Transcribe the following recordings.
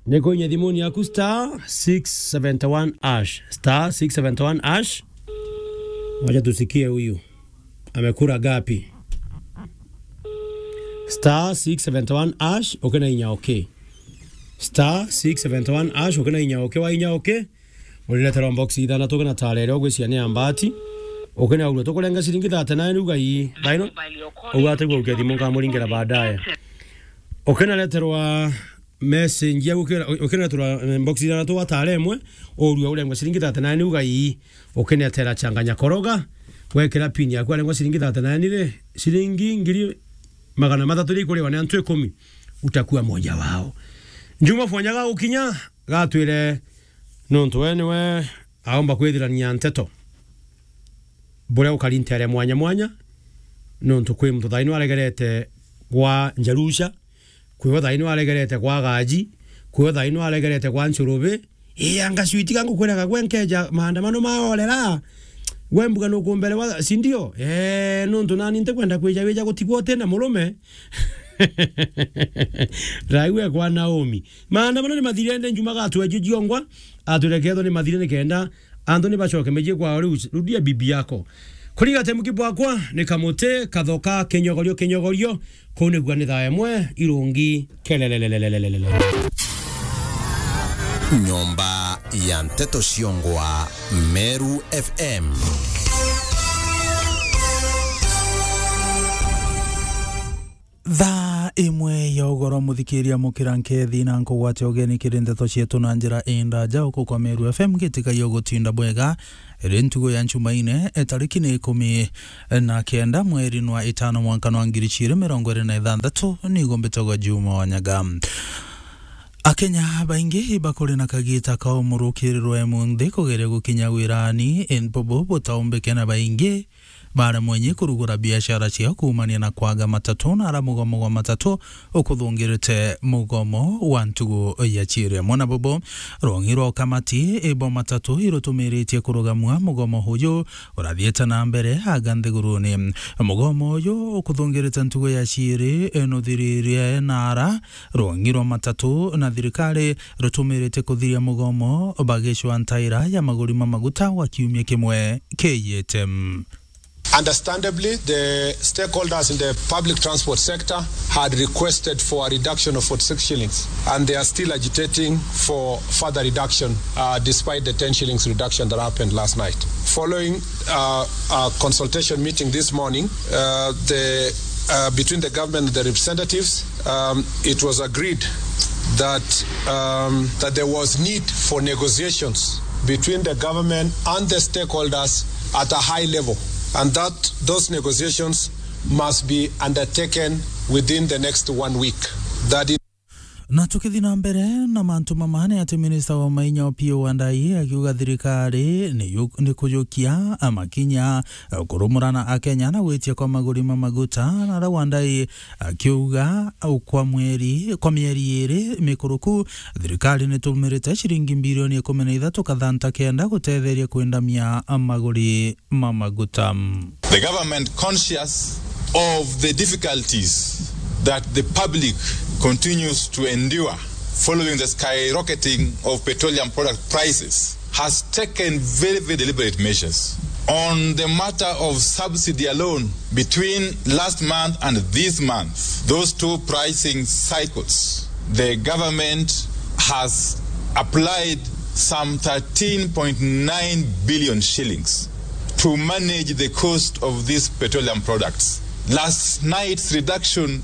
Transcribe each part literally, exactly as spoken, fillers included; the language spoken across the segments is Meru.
Ni kuinya thimuni yaku star six seventy one hash. Star six seventy one hash. Wacha tusikie huyu. Amekula ngapi? Star six seventy one hash, ukina inya okay. Star six seventy one hash, ukina inya okay, wa inya okay. Urireterwa box ithanthatu ukina tara iria ugwiciria ni ya mbati. Ukina urua tukurenga ciringi thirty nine uga ii. Thaino, uga atigua ukia thimu nkamuringira baadaye. Ukina reterwa message ya gukira, ukineterwa, eh, box ithanthatu wa tara imwe, urua urengwa ciringi thirty nine uga ii, ukinetera changanya koroga, wekira pin yaku arengwa ciringi thirty nine ri, ciringi ngiri magana mathatu ri ikuriwa ni antu ikumi, utakuwa moja wao. Juma Fwanya gagukinya, gatwire nontu we niwe aomba kwithirania nteto. Buria ukari ntere mwanya mwanya, nontu kwi muntu thaino aregerete gwa Njarusha, kwiwe thaino aregerete gwa Gaji, kwiwe thaino aregerete gwa Nchurubi. Ii, anga switi ga ngukwiraga gwe nkeja maandamano maorera, gwe mbuga nukumbere wa, si ndio? Ee, nontu nani ntikwenda kwija wija gutigwa utina murume. Raiwe kwa Naomi. Maandamano ni mathirende njuma gatwe jujiongwa, atwire kethwa ni mathire nikenda antu ni bacoke miji kwao. Riu rudia bibi yako. Kuriga temuki bwakwa ni kamuti, kathoka, kinyogorio, kinyogorio. Kuu nigua ni thaa imwe, irungi, kelelelelelelele. Nyomba ya nteto ciongwa, Meru F M. Thaa imwe ya ugoro, muthikiria mukira nkethi na nkugwate ugeni kiri nteto cietu na njira indaja uku kwa Meru F M. Ngitiga yo gutinda bwega ri ntugo ya Njumaine, e, tariki ni ikumi na kenda mweri nwa itano mwanka nwa ngiri ciiri mirongo iri na ithanthatu, nigo mbitagwa Juma Wanyaga. Akenya baingi bakuri na kagita ka umurukirirwe munthi kugeria gukinya wirani, indi bubu butaumbike na baingi baremwe nyi kurugura biashara ciao kuumania na kwaga matatu na ara mugomo gwa matatu ukuthungirite mugomo wa ntugu ya ciiri. Amwe na bubu, rwong'i rwa ukamati bwa matatu irutumiritie kurugamua mugomo uju urathiite na mbere aga nthiguruni. Mugomo uju ukuthungirite ntugu ya ciiri nuthiririe na ara rwong'i rwa matatu na thirikari rutumirite kuthiria mugomo bagicwa ntaira ya maguri ma maguta wa kiumia kimwe kiiyite. Understandably, the stakeholders in the public transport sector had requested for a reduction of forty-six shillings, and they are still agitating for further reduction, uh, despite the ten shillings reduction that happened last night. Following, uh, a consultation meeting this morning, uh, the, uh, between the government and the representatives, um, it was agreed that, um, that there was need for negotiations between the government and the stakeholders at a high level, and that those negotiations must be undertaken within the next one week. That is Na tukithi na mbere na mantu mama, ni ati minista wa mainya Opiyo Wandayi akiuga thirikari ni yu-, ni kujukia amakinya kurumurana Akenya na gwitia kwa maguri ma maguta, na ara Wandayi akiuga kwa mweri, kwa mieri iri mikuruku, thirikari nitumirite ciringi mbirioni ikumi na ithatu kathanta kenda gutetheria kwendamia maguri ma maguta. The government, conscious of the difficulties that the public continues to endure following the skyrocketing of petroleum product prices, has taken very, very deliberate measures. On the matter of subsidy alone, between last month and this month, those two pricing cycles, the government has applied some thirteen point nine billion shillings to manage the cost of these petroleum products. Last night's reduction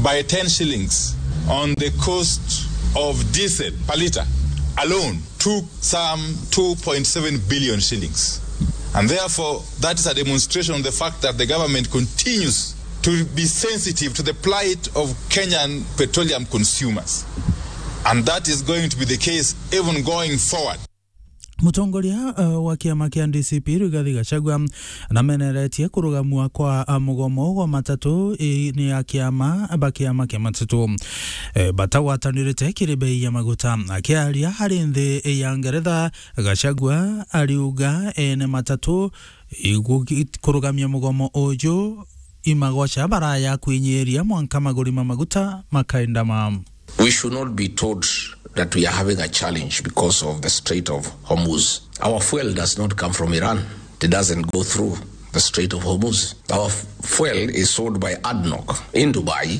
by ten shillings on the cost of diesel per litre alone took some two point seven billion shillings. And therefore, that is a demonstration of the fact that the government continues to be sensitive to the plight of Kenyan petroleum consumers. And that is going to be the case even going forward. Mutongoria, uh, wa kiama kia D C P Rigathi Gachagua nameneretie kurugamua kwa, uh, mugomo gwa matatu, i, ni a kiama ba kiama kia matatu, eh, batagwatanirite kiri bei ya maguta. Akiaria ari nthi ya Ngeretha, Gachagua ariuga ene matatu igugi-, kurugamia mugomo uju imagoca baraya kwinyiria mwanka maguri ma maguta makaendama. We should not be told that we are having a challenge because of the Strait of Hormuz. Our fuel does not come from Iran. It doesn't go through the Strait of Hormuz. Our f-, fuel is sold by ADNOC in Dubai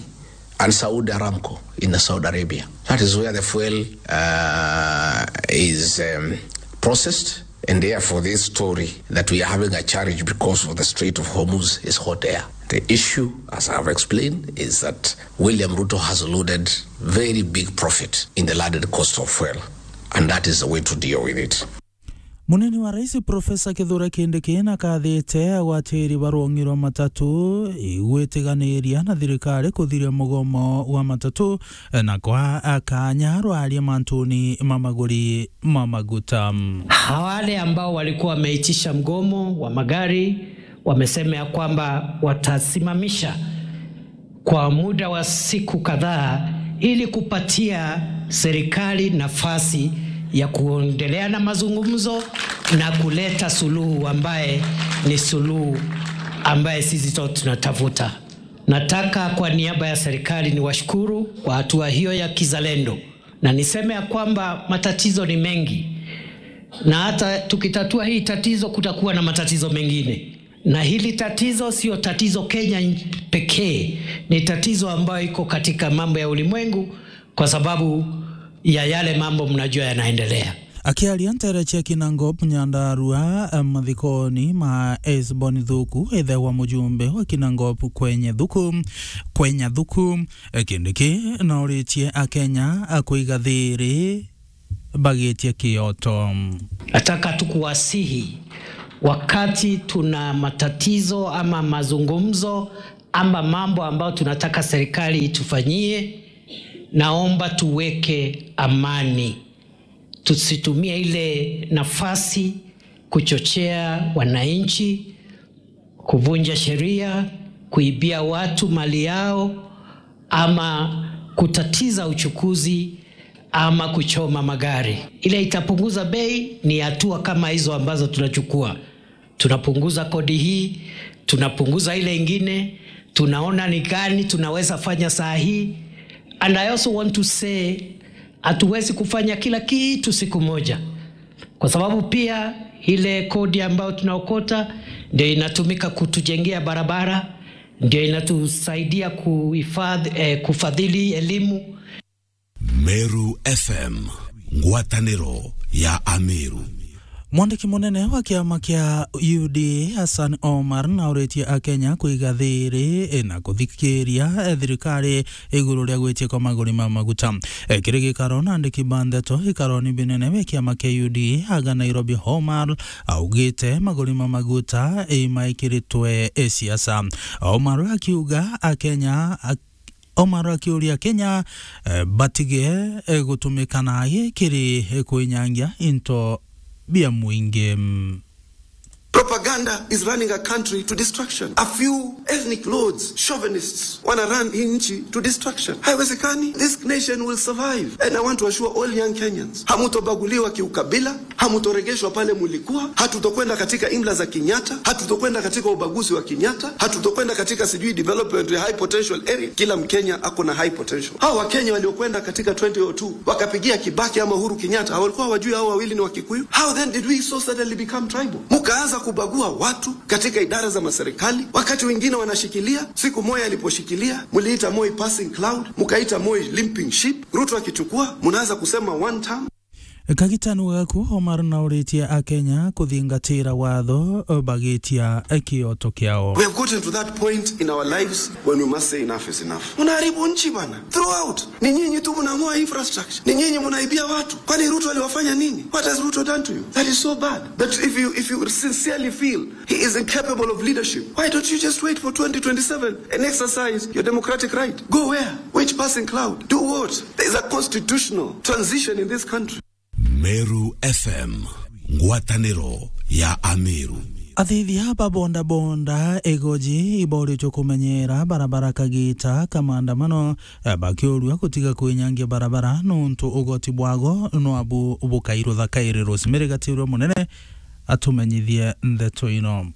and Saudi Aramco in Saudi Arabia. That is where the fuel, uh, is, um, processed. And therefore, this story that we are having a challenge because of the Strait of Hormuz is hot air. The issue, as I have explained, is that William Ruto has loaded very big profit in the landed cost of fuel, and that is the way to deal with it. Munini wa Rais Profesa Kithure Kindiki nakathite agwatiri ba rwong'i rwa matatu igwitiganiria na thirikari kuthiria mugomo wa matatu na kwa kanya rwaria mantuni ma maguri ma maguta. Wale ambao walikuwa wameitisha mgomo wa magari wamesema ya kwamba watasimamisha kwa muda wa siku kadhaa ili kupatia serikali nafasi ya kuendelea na mazungumzo na kuleta suluhu ambaye ni suluhu ambaye sisi sote tunatafuta. Nataka kwa niaba ya serikali niwashukuru kwa hatua hiyo ya kizalendo, na niseme ya kwamba matatizo ni mengi, na hata tukitatua hii tatizo kutakuwa na matatizo mengine. Na hili tatizo sio tatizo Kenya pekee, ni tatizo ambayo iko katika mambo ya ulimwengu kwa sababu ya yale mambo mnajua yanaendelea. Akiaria ntere cia Kinangop Nyandarua, eh, mathikoni ma Esbon Thuku, ithe wa mujumbe wa Kinangop kwenye Thuku, kwenye Thuku, eh, Kindiki nauritie Akenya, eh, kuiga thiri bagitie kioto. Nataka tu kuwasihi, wakati tuna matatizo ama mazungumzo ama mambo ambayo tunataka serikali itufanyie, naomba tuweke amani. Tusitumie ile nafasi kuchochea wananchi, kuvunja sheria, kuibia watu mali yao, ama kutatiza uchukuzi, ama kuchoma magari. Ile itapunguza bei ni hatua kama hizo ambazo tunachukua. Tunapunguza kodi hii, tunapunguza ile ingine, tunaona ni gani tunaweza fanya saa hii. And I also want to say, hatuwezi kufanya kila kitu siku moja, kwa sababu pia ile kodi ambayo tunaokota ndio inatumika kutujengea barabara, ndio inatusaidia kuhifadhi, eh, kufadhili elimu. Meru F M, ngwatanĩro ya Ameru. Mwandiki munene wa kiama kia U D A, Hassan Omar, nauritie Akenya kuiga thiri na kuthikiria thirikari iguru ria gwitia kwa maguri ma maguta. E, kiri gikaro na andiki ba ndeto ikaroni binene bia kiama kia U D A aga Nairobi, Omar augite maguri ma maguta imaikiritwe siasa. Omar akiuga Akenya, ak-, Omar akiuria Akenya, eh, batige, eh, gutumika naagi kiri, eh, kwinyangia into bia mwingi. Propaganda is running a country to destruction. A few ethnic lords, chauvinists, wanna run hii nchi to destruction. Haiwezekani. This nation will survive. And I want to assure all young Kenyans, hamutobaguliwa kiukabila, hamutoregeshwa pale mulikuwa, hatutokwenda katika imla za Kenyatta, hatutokwenda katika ubaguzi wa Kenyatta, hatutokwenda katika sijui development ya high potential area. Kila Mkenya ako na high potential. Hao Wakenya waliokwenda katika twenty oh two, wakapigia Kibaki ama Uhuru Kenyatta, walikuwa hawajui hao wawili ni Wakikuyu? How then did we so suddenly become tribal? Mukaanza kubagua watu katika idara za maserikali, wakati wengine wanashikilia. Siku Moi aliposhikilia, muliita Moi passing cloud, mukaita Moi limping ship. Ruto akichukua, munaanza kusema one term. Kagitanu gaku, Omar nauritie Akenya kuthingatira watho bagitia kioto kiao. We have gotten to that point in our lives when we must say enough is enough. Unaharibu nchi bana. Throughout, ni nyinyi tu mnang'oa infrastructure. Ni nyinyi mnaibia watu. Kwani Ruto aliwafanya nini? What has Ruto done to you? That is so bad. That if you, if you sincerely feel he is incapable of leadership, why don't you just wait for twenty twenty-seven and exercise your democratic right? Go where? Which passing cloud? Do what? There is a constitutional transition in this country. Meru F M, ngwatanĩro ya Ameru. Athithia ba boda boda Igoji iboritwe kumenyera barabara kagita ka maandamano, eh, bakiurua gutiga kwinyangia barabara nontu ugoti bwago nwabu bukairutha kairi. Rosemary Gatirwa Munene atumenyithie ndeto ino.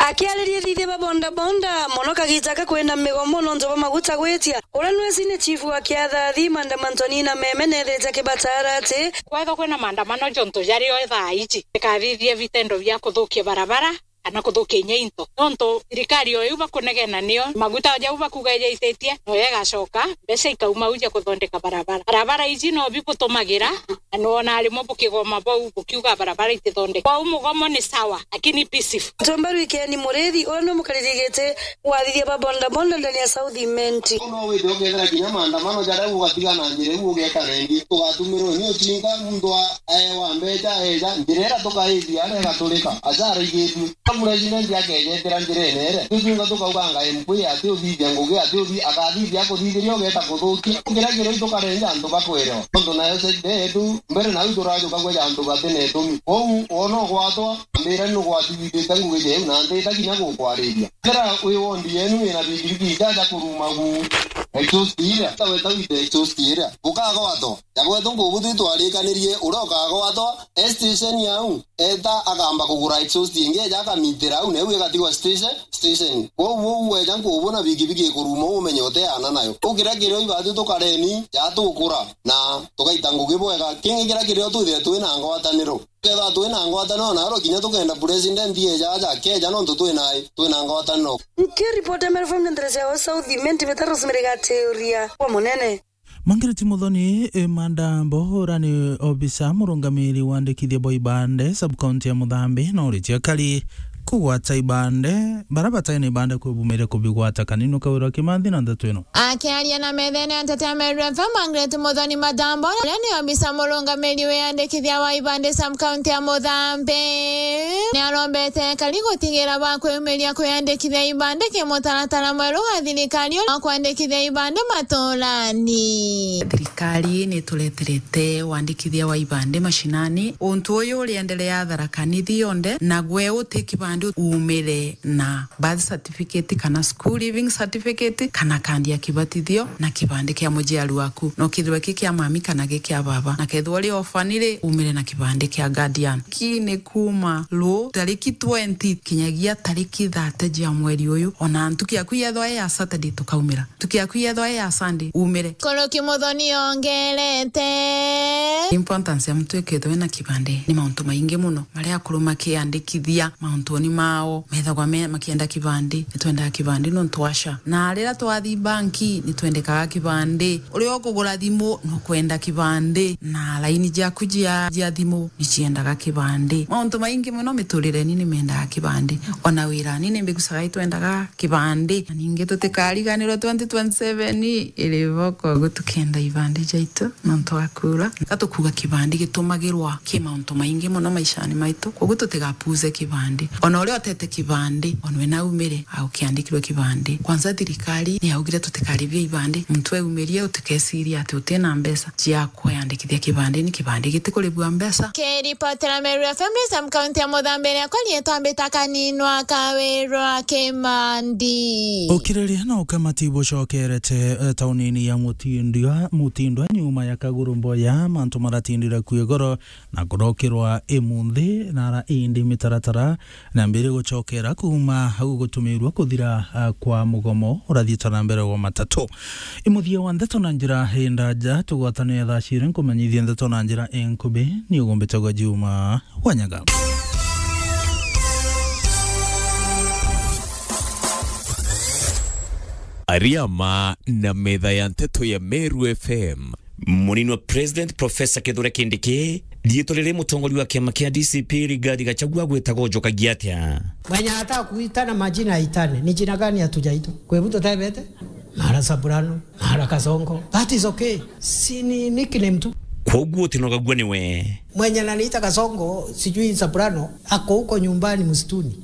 Akiariria ethithia ba bodaboda, mono kagiita ka kwina migomo nontu bwa maguta gwitia, uria nwe senior chief wa Kiathathi, Madam Antonina Meme, neethite akibatara ati kwethwa kwina maandamano jontu jario thaa iji, ikathithia vitendo bia kuthukia barabara kana kuthukia inya into. Nontu thirikari o iu bakunegena nio maguta jau bakuga ijaititie, noyo igacoka, mbeca ikauma au ja kuthondeka barabara. Barabara iji no bibutumagira, na nwona rimwe bukigoma bau bukiuga barabara itithondeka. Kwou mugomo ni sawa, lakini peaceful. Tumba Rwikeni Murithi, uria ni mukariri giti wa athithia ba bodaboda ndani ya South Imenti. No withe ukethira kinya maandamano jaria ugatiga na njira iu ugeta rendi, tugatumirwo ni ucinga muntu a-, aewa mbeca eja, njira iria tukaithia aria igaturika, aja araigitue. Ka president akejetera njirene iria, tucinga tukauganga M P ati uthithia ngugi, ati uthi-, akathithia akuthithiria ugeta kuthukia. Ngira kiro itukarenja antu bakwerewa. Nontu nayo side yetu, mbere nau turajuka kweja antu bati na itumi. Kwou, wona ugwatwa, ambira ni ugwatithite ngugi jeu, na ntita kinya gukwariria. Kira wi wondi yenu wina bigirigi ijaja kuruma gu exhaust iria, ta weta wite exhaust iria, ukagwatwa. Jagwetu ngubu twitwarikanirie, uria ukagwatwa e station yau, eta akamba kugura exhaust ingi, eja akamitira au, na iu igatigwa station, station. Kwou uu weja ngubu na bigibigi ikuruma, umenye uteana nayo. Ukira kirio ibatu tukareni, ja tukura, na tugaita ngugi bwega. Kingi kira kirio twithire twina ngwataniro. Kethira twina ngwataniro, na aro kinya tukenda president eja aja, akeja nontu twina, twina ngwataniro. Nkiripota Meru F M nderesia wa South Imenti, Metaros Merigatiuria wa Munene. Margaret Muthoni, eh, Madambo, uria ni obisa murungamiri wa andikithia bwa ibande, sub-county ya Muthambi, na uritie akari kugwata ibande, baria batai na ibande kwibumiria kubigwata. Kanini Kawira Kimanthi na ndeto ino. Akiaria na methene ya nteto ya Meru F M, Margaret Muthoni Madambo, uria ni obisa murungamiri wa andikithia wa ibande, sub-county ya Muthambi, ni arombete akari gutigira bakwiyumiria kwiyandikithia ibande kimutaratara mweru wa thirikari wa kwandikithia ibande maturani. Thirikari ni itureterete wandikithia wa ibande mashinani. Untu uyu uriendelea Tharaka Nithi yonthe, na gwe uti kibande uumire na birth certificate kana school leaving certificate kana kandi ya kibatithio na kibande kia muciari waku. No kithirwa ki kia mami kana gi kia baba. Na kethirwa uri orphan ri, uumire na kibande kia guardian. Ki ni kuuma ru tariki twenty kinyagia tariki thirty cia mweri uyu. Ona ntuku yaku yethwa i ya Saturday tukaumira. Ntuku yaku yethwa i ya Sunday, uumire. Kuruki Muthoni ongerete. Importance ya muntu ikethwa ena kibande ni mauntu maingi muno. Maria akuru makiandikithia mauntuni mao, methagwa me, makienda kibande, ni twendaga kibande nontu wa SHA. Na riria twathi banki, ni twendekaga kibande. Uria ukugura thimu, nukwenda kibande. Na laini ciaku cia, cia thimu, ni ciendaga kibande. Mauntu maingi muno miturireni ni mendaga kibande. Ona wirani ni mbigucaga itwendaga kibande. Na ningi tutikariganirwe twenty twenty-seven iri boko, uguo tukenda ibande jaitu. Nontu wa kuura, ka tukuuga kibandi gitumagirwa ki mauntu maingi mono maishani maitu, koguo tutigapuuze kibandi. Ona uria utete kibandi, ona we naumire, aukiandikirwe kibandi. Kwanza thirikari ni yaugire tutikaribie ibandi, muntu eumirie utikesirie ati utina mbeca cia kwiyandikithia kibandi, ni kibandi gitikuribua mbeca. Kiripotera Meru F M, Sam County ya Muthambi, riakwa rietwa Mbita Kaninwa Kawirwa Kimandi. Ukiriria na ukamati bucokerete, eh, taunini ya Mutindwa, Mutindwa nyuma ya Kaguru Mboya, mantu maratindire kwi goro na kurokirwa imunthi nara indi mitaratara na mbere gucokera kuuma au gutumirwa kuthira, ah, kwa mugomo urathiite na mbere wa matatu. Imuthia wa ndeto na njira indaja, tugwatane thaa ciri nkumenyithie ndeto na njira inkubi, ni ugumbite gwa Juma Wanyaga. Ariama na metha ya nteto ya Meru F M. Munini wa President Professor Kithure Kindiki, riitwa riri mutongoria wa kiama kia D C P Rigathi Gachagua gwitagwo njokagia atia? Mwenye anataka kuitana majina aitane. Ni jina gani hatujaitwa? Kwa hivyo tutabete? Mara Saburano, mara Kasongo. That is okay. Si ni nickname tu. Kwoguo utinogagua niwe. Mwenye ananiita Kasongo, sijui Saburano, ako huko nyumbani msituni.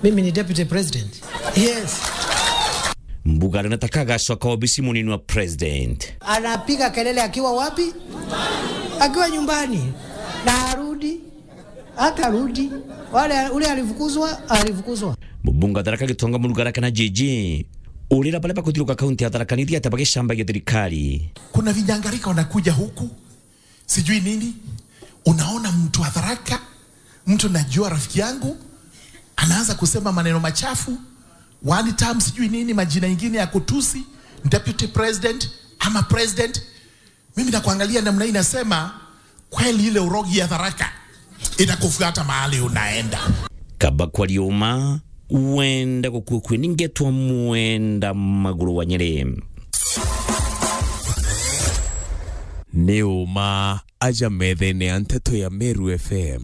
Mimi ni deputy president. Yes. Mbuga anataka agacoka obisi munini wa president. Anapiga kelele akiwa wapi? Akiwa nyumbani. Na arudi. Hata arudi. Wale, ule alifukuzwa, alifukuzwa. Mubunge wa Tharaka Gitonga Murugara kana J J. Urira baria bakuthiruka kaunti ya Tharaka Nithi ati bagicambagia thirikari. Kuna vinyangarika wanakuja huku. Sijui nini. Unaona mtu wa Tharaka, mtu najua rafiki yangu, Anaanza kusema maneno machafu, one term, sijui nini, majina ingine ya kutusi deputy president ama president. Mimi nakuangalia namna hii, nasema kweli ile urogi ya Tharaka itakufuata mahali unaenda. Kaba kwa riuma, wenda gukua kwi, ningetwa Mwenda Maguru wa Nyeri. Ni uma aja methene ya nteto ya Meru F M.